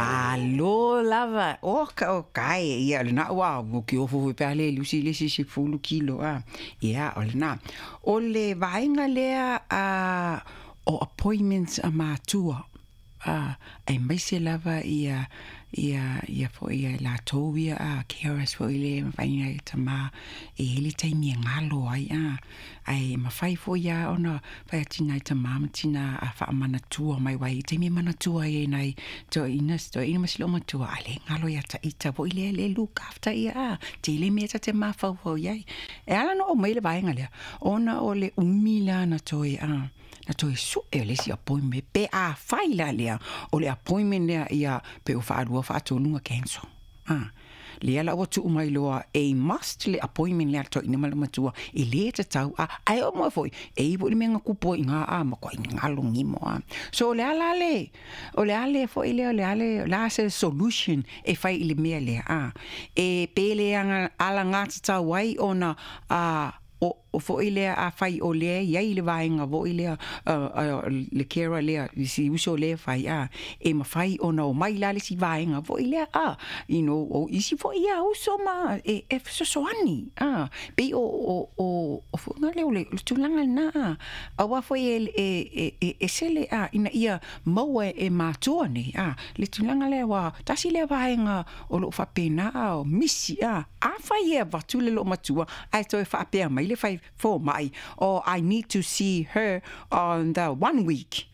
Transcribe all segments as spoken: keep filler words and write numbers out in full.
Malo lava oka o kai ia le na ua o ki ofo foi pe le lusi le si fulu kilo a ia o le na o le vaenga lea a o appointments a matua a e maise lava ia ia ia foi ia latou ia a carers foi le mafai e tama e hele taimi e galo ai a ai mafai foi ia ona fai atu nai tama ma tina a faamanatua mai wai taimi e manatua ai e nai toeaina toeaina ma si loomatua a le galo ia taita foi lea le look after ia a tele mea ta te mafaufau iai e ala ona oo mai le vaega lea ona o le umi la na toe a na toe sue o le isi appointment pe a fai la lea o le appointment lea ia pe o faalua faatolu na cancel a lea la ua tuu mai loa e must le appointment lea toeaina ma le matua e lē tatau a ae oo mai foi e i foi le mea na kupu ai iga a matuai galo gimo a. So o le a la le o le a le foi lea o le a le o le a se solution e fai i le mea lea a e pe le alagatatau ai ona a o o foi lea afai o lea e i ai le vaega foi lea le carer lea i si uso lea e fai a e mafai ona omai la le isi vaega foi lea a you know o isi foi ia uso ma e e fesoasoani a pei o o o o foi lea o le tulaga lena a aua foi e e e ese le a ina ia maua e matua nei a le tulaga lea ua tasi lea vaega o loo faapena a o misi a afai e avatu le loomatua ae toe faapea mai le fai fomai o I need to see her on the one week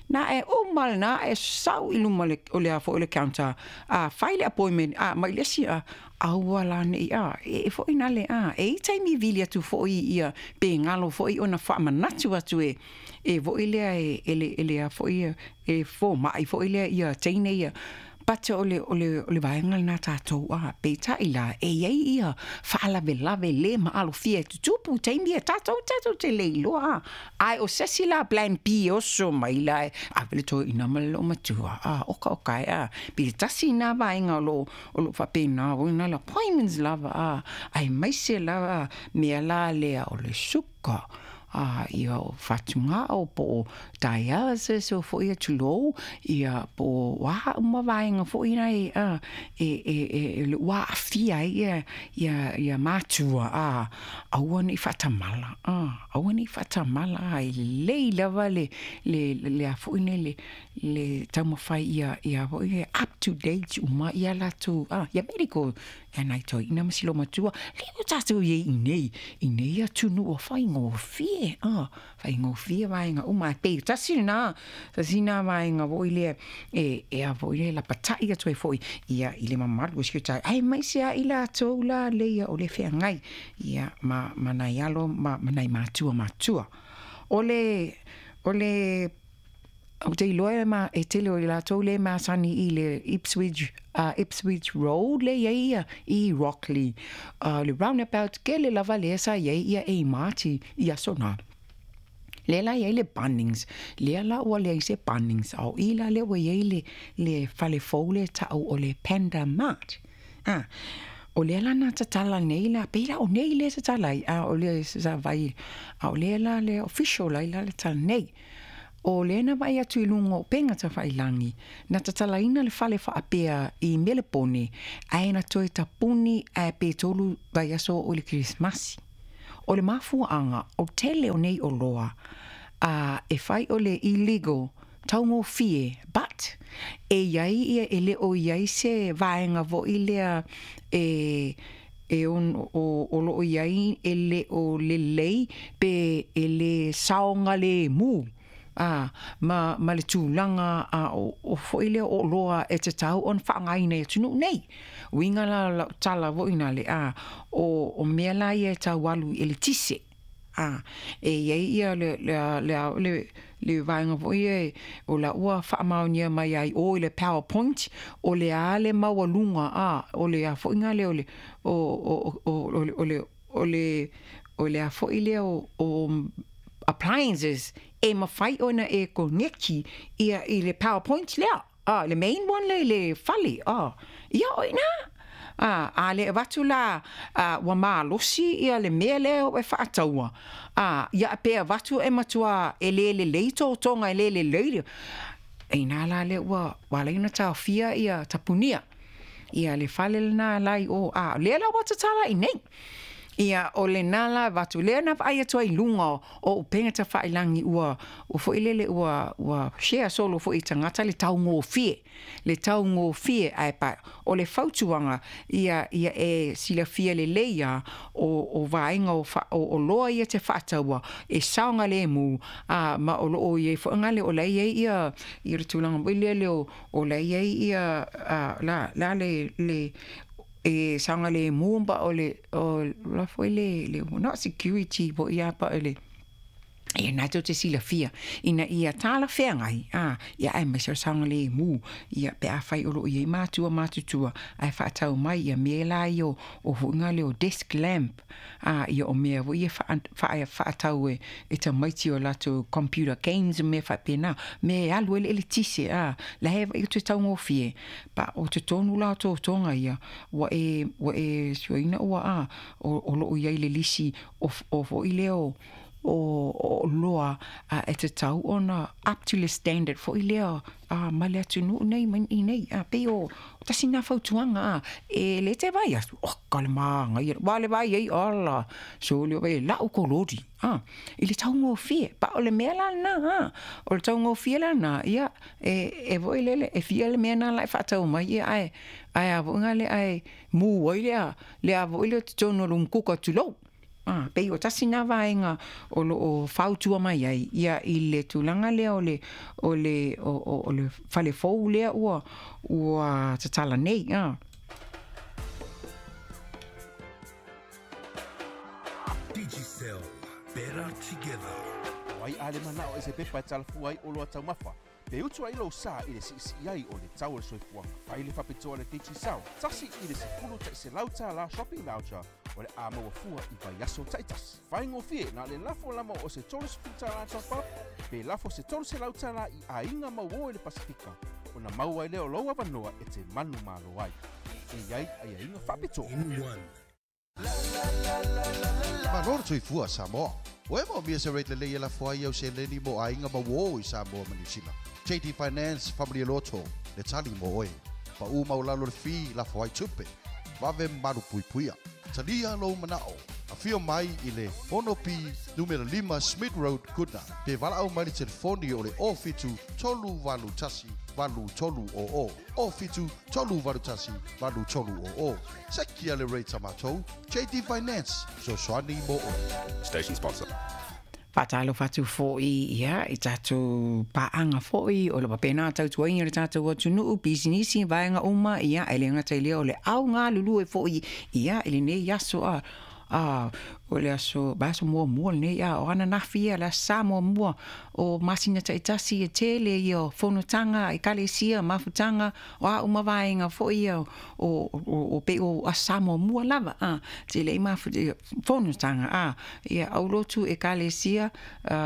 na e uma lena e sau i luma o le a foi o le counter a fai le appointment a mai le isi a aua la nei a e foi na le a e i taimi vili atu foi ia pe galo foi ona faamanatu atu e e foi lea e e le e le a foi e fomai foi lea ia teine ia but o le o le o le vaega lena tatou a peitai la e i ai ia faalavelave lē maalofia e tutupu taimi e tatou tatou te le iloa a ae o se isi la plan B e oso mai la e ave le toeaina ma le loomatua a oka oka e a pe tasi na vaega o loo o loo faapena oi na le appointments lava a aemaise lava mea la lea o le suka a ia o fatugao po o dialysis o foi ia tulou ia po o a uma vaega foi nei a e e e e ua aafia ai ia ia ia matua a aua nei faatamala a aua nei faatamala a e lelei lava le le le a foi nei le le taumafai ia ia foi up to date uma ia latou a ia medical ia nai toeaina ma si loomatua lea ua tatou iai i nei i nei atunuu faigofie a faigofie vaega uma e pei tasi lena tasi na vaega foi lea e e a foi lea lapatai atu ai foi ia i le mamalu o si o tatou aemaise ai latou la leia o le feagai ia ma ma nai alo ma ma nai matua matua o le o le ou te iloa ma e tele o i latou le masani i le Ipswich uh, Ipswich Road le iai ia i Rocklea uh, le roundabout kele lava lea sa iai ia e mati i aso na lea la iai le Bunnings lea la ua leai se Bunnings ao i la lea ua iai le le fale fou le ta'u o le Panda Mart ah o lea la na tatala nei la pei la o nei le tatala ai a o le sa vai a o lea la le official lai la le tala nei o lea na vaai atu i luga o upega tafailagi na tatalaina le fale faapea i Melepone ae na toe tapuni ae pe tolu vaiaso o le Kerisimasi o le mafuaaga o tele o nei oloa a e fai o le illegal taugofie but e iai ia e le o iai se vaega foi lea e e on, o, o loo iai e le o lelei pe e le saogalemu a ma, ma le tulaga a o, o foi lea o oloa e tatau ona faaaogaina i atunuu nei uiga la lau tala foi na le a o, o mea la ia e tau alu i eletise a e iai ia le le le le le vaega foi e o la ua faamaonia mai ai o i le PowerPoint o le a le maualuga a o le a foi nga lea o le o o o o le o le o le o le a foi lea o, o appliances e mafai ona e koneki ia i le PowerPoint lea a le main one le le fale a ia o ina a a le avatu la a, ua malosi ia le mea lea e faataua a ia pe avatu e matua e le lelei totoga e le lelei. E ina la le ua ua ala ai ona taofia ia tapunia ia le fale lena la i o, a o lea la ua tatala i nei. Ia o lena la avatu lea na vaai atu ai i luga o upega tafailagi ua ua foi lele ua ua share solo foi i tagata le taugofie le taugofie ae pa o le fautuaga ia ia e silafia lelei a o o vaega o fa o oloa ia te faataua e saogalemu a ma o loo i ai foi gale o la i ai ia ia le tulaga foi lea o o la i ai ia a la la le le e saogalemu ba o le o la foi le le not security po ia pa le ia na tou te silafia ina ia talafeagai a ia aemaise o le saogalemu ia pe afai o loo i ai matua matutua ae faatau mai ia mea la ia o o foiga lea o desk lamp a ia o mea foi ia faatau e e tamaiti o latou computer games ma mea faapena mea e alu ai le eletise a la e vaai atu e taugofie pa o totonu la o totoga ia ua e ua e suaina ua a o o loo i ai le lisi o o foi lea o o oloa e tatau ona up to le standard foi lea a ma le atunuu nei ma i nei a pei o tasi na fautuaga a e le te vai atu o ka le magaia wa le vai ai ala so le vai lau kolori a i le taugofie pa o le mea la lena a o le taugofie la lena ia e e foi lele e fia le mea na la e faatau mai ia ae ae a foi le ae mu ai lea le a foi le totonu o le umukuka tulou. Ah, pei o tasi na vaega o loo fautua mai ai ia i le tulaga lea o le o le o, o, o le fale fou lea ua ua tatala nei. Ah. Digicel, better together. Wai a le manao e se pepa e talafua ai o loa taumafa. Pe utu ai lou sa i le siisii ai o le tau o le soifuaga. Fai le faapitoa le Digicel, tasi i le sefulu ta'iselau tālā shopping voucher o le a maua fua i vaiaso ta'itasi. Faigofie na le lafo lama o se tolu sefulu tālā top up, pe lafo se tolu selau tālā i aiga mauō i le Pasifika, ona maua ai lea o lou avanoa e te manu malo ai. E iai aiaiga faapitoa. In one. Malo le soifua Samoa. O e maomia se rate lelei e lafo ai au seleni mo aiga mauō i Samoa ma Niu Sila. J D Finance, Family Loto, le tali mo oe. Pa u maulalo le fee lafo ai tupe. Vave malu puipuia. Talia lou manao. Afio mai i le ono P numera lima Smith Road, Goodna. Pe valaau mai le telefoni o le o fitu tolu valu tasi valu tolu o o. O fitu tolu valu tasi valu tolu o o. Sekia le rate a matou. J D Finance, fesoasoani mo oe. Station sponsor. Faatalofa atu foi ia i tatou paaga foi o le faapena tautuaina o le tatou atunuu pisinisi vaega uma ia e le gata i lea o le au galulue foi ia i lenei aso a a o le aso vaiaso muamua lenei a o ananafi ia le aso sa muamua o masina ta'itasi e tele ia o fonotaga ekalesia mafutaga o a uma vaega foi ia o o o pei o aso sa muamua lava a tele ai mafu fonotaga a ia aulotu ekalesia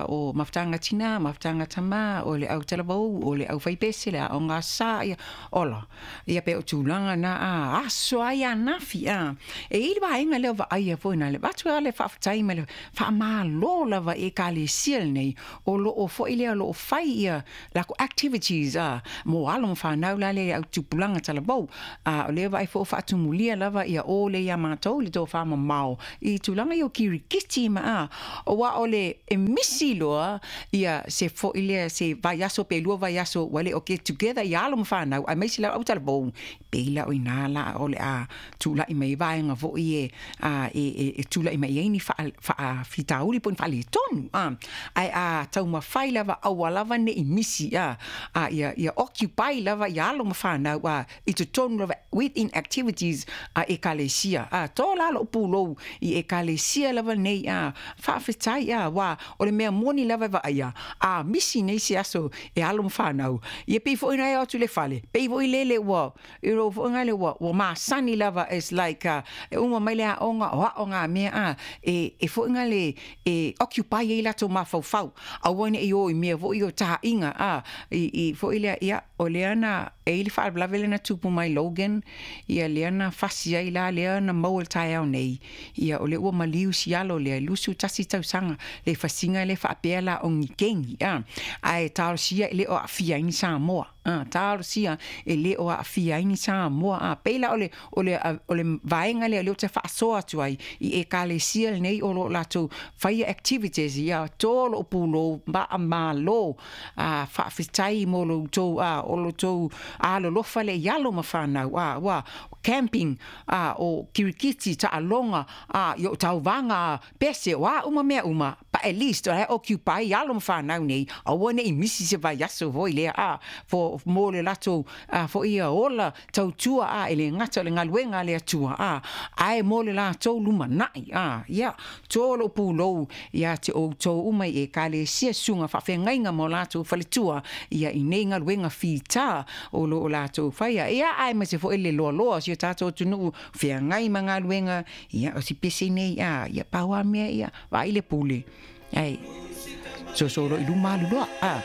o mafutaga tinā mafutaga tamā o le autalavou o le aufaipese le aoga sa ia ola ia pe o tulaga na a aso ai anafi a e i le vaega lea o vaaia foi na le avatu a le faafetai ma le faamālō lava i ekalesia lenei o loo foi lea o loo fai ia lakou activities a mo alo ma fanau la le autupulaga talavou a o lea vaai foi o faatumulia lava ia o le iā matou le tofamamao i tulaga ia o kirikiti ma a auā o le e misi loa ia se foi lea se vaiaso pe lua vaiaso ua le o get together ia alo ma fanau aemaise la autalavou pei la o inā la o le a tula'i mai vaega foi e a e e e tula'i mai ai ni faafitauli po o ni faaletonu a ae a taumafai lava aua lava ne'i misi a a ia ia occupy lava ia alo ma fanau a i totonu lava within activities a ekalesia a to la lo'u pulou i ekalesia lava nei a faafetai a uā o le mea moni lava e vaaia a misi nei se aso e alo ma fanau ia pei foi na e o atu i le fale pei foi lele ua i lou fo'iga le ua ua masani lava is like uh, e uma mai le aoga o aoga ituaga mea a e e foʻiga le e occupy ai latou mafaufau aua neʻi o i mea foʻi o taʻiga a i i foʻi lea ia o lea na e i le faalavelave lea na tupu mai Logan ia lea na fasi ai la lea na maua le taeao nei ia o lea ua maliu sialo lea lusu tasi tausaga le fasiga le faapea la o ni kegi a ae talosia e le o aafia ai ni Samoa a talosia e le o aafia ai ni Samoa a pei la o le o le o le vaega lea o lea ou te faasoa atu ai i ekalesia lenei o loo latou faia activities ia to lou pulou faamalo a faafetai mo lo outou a o lo outou alolofa le i alo ma fanau a ua camping a o kirikiti taaloga a i o tauvaga pese o a uma mea uma but at least o la e occupy alo ma fanau nei aua neʻi misi se vaiaso foi lea a fo mo le latou a foʻi ia ola tautua a e le gata o le galuega a le Atua a ae mo le latou lumanaʻi a ia to lou pulou ia te outou uma i ekalesia susuga faafeagaiga ma o latou faletua ia i nei galuega fitā o loo latou faia ia ae ma se foʻi le loaloa o si o tatou atunuu feagai ma galuega ia o si pese nei a ia pau a mea ia vaai le pule ae sosolo i luma alu loa a.